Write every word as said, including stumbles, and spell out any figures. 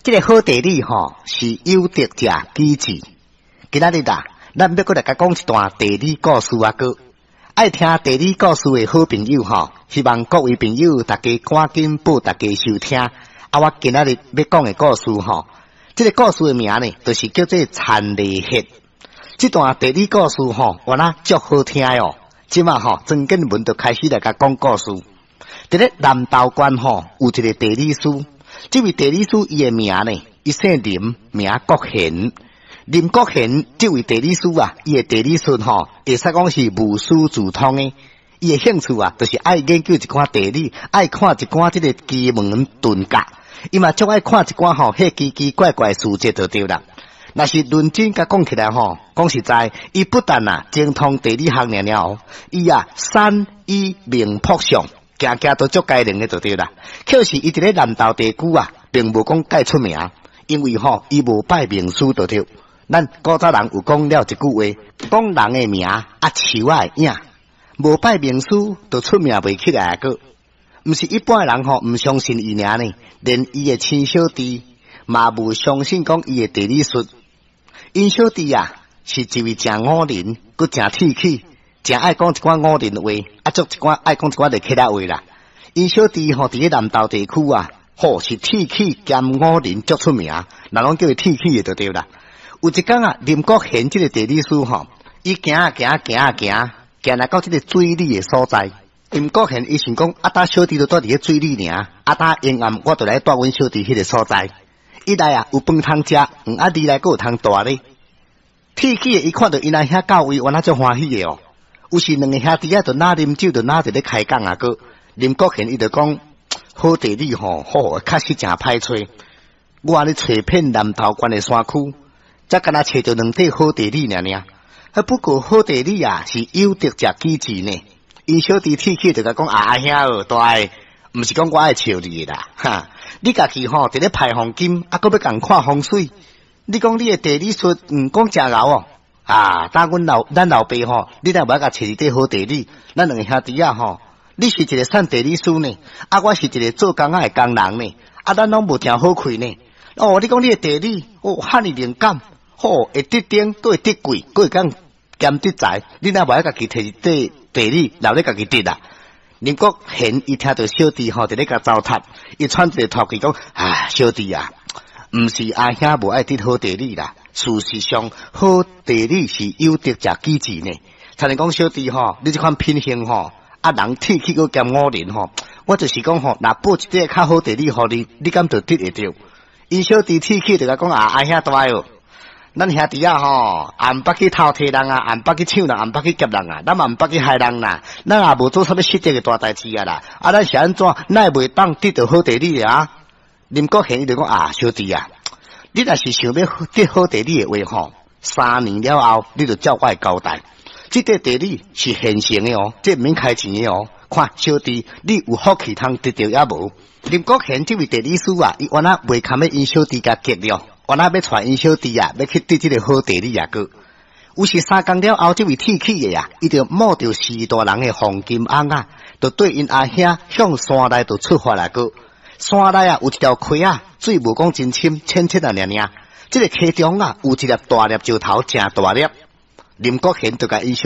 這个好地理吼是有德者居之。今仔日啊，咱欲閣來共講一段地理故事啊，閣愛聽地理故事的好朋友吼，希望各位朋友大家趕緊報大家收聽。啊，我今仔日欲講的故事吼，這个故事的名呢，就是叫做田螺穴。這段地理故事吼，原來足好聽哦。這馬吼，曾建文就開始來共講故事。佇咧南投縣吼，有一个地理師。這位地理師伊的名呢，伊姓林，名國賢。林國賢這位地理師啊，伊的地理術吼，會使講是無師自通的。伊的興趣啊，就是愛研究一寡地理，愛看一寡這个奇門遁甲。伊嘛足愛看一寡吼，彼奇奇怪怪書籍就對啦。若是認真共講起來吼，講實在，伊不但啊精通地理學爾爾，伊啊山醫命卜相，件件都足該靈的就對啦。可是伊佇咧南投地區啊，並無講蓋出名，因為吼伊無拜名師就對。咱古早人有講了一句話，講人的名啊，樹仔的影，無拜名師就出名袂起來閣。毋是一般的人吼，毋相信伊爾呢，連伊的親小弟嘛無相信講伊的地理術。𪜶小弟啊，是一位誠五仁，閣誠鐵齒，誠愛講一寡五仁話，啊，足一寡愛講一寡熱氣仔話啦。𪜶小弟吼佇咧南投地區啊，吼是鐵齒兼五仁足出名，人攏叫伊鐵齒的就對啦。有一工啊，林國賢這个地理師吼，伊行啊行行啊行，行來到這个水里的所在。林國賢伊想講，啊，搭小弟就蹛佇咧水里爾，啊，搭下暗我就來蹛阮小弟彼个所在。一來啊有飯通食，嗯啊二來閣有通蹛咧。鐵齒的伊看著𪜶阿兄到位，原來足歡喜的哦。有時兩个兄弟仔就若啉酒，就若佇咧開講啊閣。林國賢伊就講，好地理吼，好，確實誠歹揣。我按呢揣遍南投縣的山區，才敢若揣著兩塊好地理爾爾。啊，不過好地理啊，是有德者居之呢。𪜶小弟鐵齒就共講啊，阿兄哦，大的，毋是講我愛笑你的啦，哈！你家己吼佇咧排黃金，啊，閣欲共看風水。你講你的地理術，毋講誠𠢕哦。啊，當阮老咱老爸吼，你若無愛共揣一塊好地理，咱兩个兄弟仔吼，你是一个算地理師呢，啊，我是一个做工仔的工人呢，啊，咱攏無誠好氣呢。哦，你講你的地理，哦，遐爾靈感，吼，會得丁，閣會得貴，閣會當兼得財，你若無愛家己提一塊地理，留咧家己得啊。林國賢伊聽著小弟吼佇咧共糟蹋，伊喘一个吐氣講：啊，小弟啊，毋是阿兄無愛得好地理啦，事實上好地理是有德者居之呢。親像講小弟吼，你這款品行吼，啊人鐵齒閣兼五仁吼，我就是講吼，若報一塊較好地理予你，你敢就得會著？𪜶小弟鐵齒就共講啊，阿兄大哦，咱兄弟仔吼，也毋捌去偷提人啊，也毋捌去搶人，也毋捌去劫人啊，咱嘛毋捌去害人啦，咱也無做啥物失德的大代誌啊啦，啊，咱是按怎，哪會袂當得著好地理啊？林國賢伊就講啊，小弟啊，你若是想欲得好地理的話吼，三年了後，你就照我的交代。這塊地理是現成的哦，這毋免開錢的哦。看小弟，你有福氣通得著抑無？林國賢這位地理師啊，伊原來袂堪欲𪜶小弟共激了，原來欲帶𪜶小弟啊，欲去得這个好地理啊閣。有時三工了後，這位鐵齒的啊，伊就冒著序大人的黃金尪仔，就綴𪜶阿兄向山內就出發來閣。山內啊，有一條溪仔，水無講真深，淺淺啊爾爾。這个溪中啊，有一粒大粒石頭，誠大粒。林國賢就共𪜶小